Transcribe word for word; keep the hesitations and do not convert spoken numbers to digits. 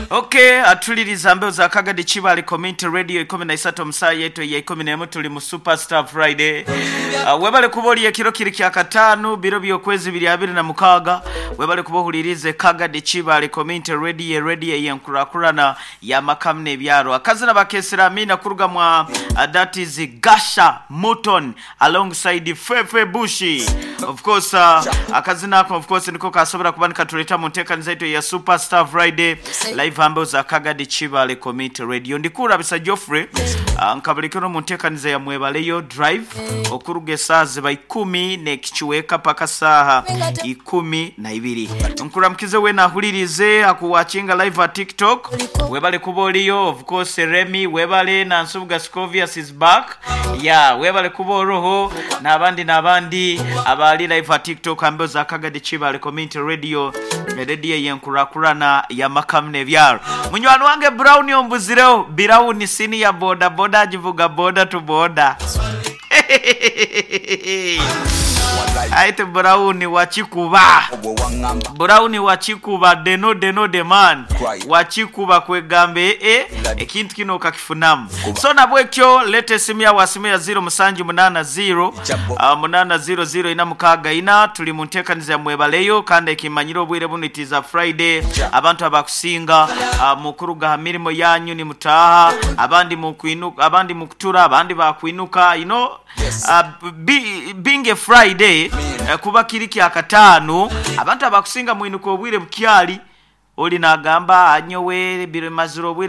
Okay, atuliriza mbeo za Kagadi Chibali Community Radio ikumi na isatu omusaa yetu ya ikumi n'emu tuli mu Superstar Friday. Uh, webale kuba oli ekiro kiri kya kataano biro by'okwezi biri abiri na mukaaga. Webale kuba ohulirize Kagadi Chibali Community Radio, radio yenkurakurana y'amakamu n'ebyaro. Akazina bakesera amina kuruga mwa uh, that is Gasha Mutton alongside Fefe Bushi. Of course uh, akazina ako of course niko kasobora kuba nikatuleta mu nteekaniza yetu ya Superstar Friday live hambo za Kagadi Chibale Community Radio. Ndikurabisa Geoffrey uh, nkabulikiro mu nteekaniza ya Mwebaleyo Drive okuruga esaaha ziba ikumi n'ekichweka paka saaha ikumi na ibiri. Nkuramukize we nahulirize akuwatchinga live at TikTok. Webale kuba oliyo, of course Remy webale na Nsubuga Scovius is back. Yeah, webale kuba oroho n'abandi n'abandi abali live at TikTok hambo za Kagadi Chibale Community Radio, radio yenkurakurana ya makamu n'ebyaro. Munywani wange Brown ombuzireho, Brown sini ya boda boda agivuga boda to boda. Aite Brown wachikuba. Brown wachikuba deno deno de man. Wachikuba kwegambe e ekintu kino okakifunamu. So nabwekyo lete esimu yawe asimu ya zero musanju munana zero uh, munana zero zero ina mukaaga ina. Tuli mu nteekaniza ya Mwebaleyo kandi ekimanyire obwire buno it is a Friday. Abantu abakusinga uh, mukuruga ha mirimo yanyu ni mutaha, abandi mukwinuka, abandi mukutura, abandi bakwinuka, you know. Uh, be, being a Friday uh, kuba kiri kya kataano abantu abakusinga mwinuka obwire bukyali oli nagamba anyowe biro maziro obwire.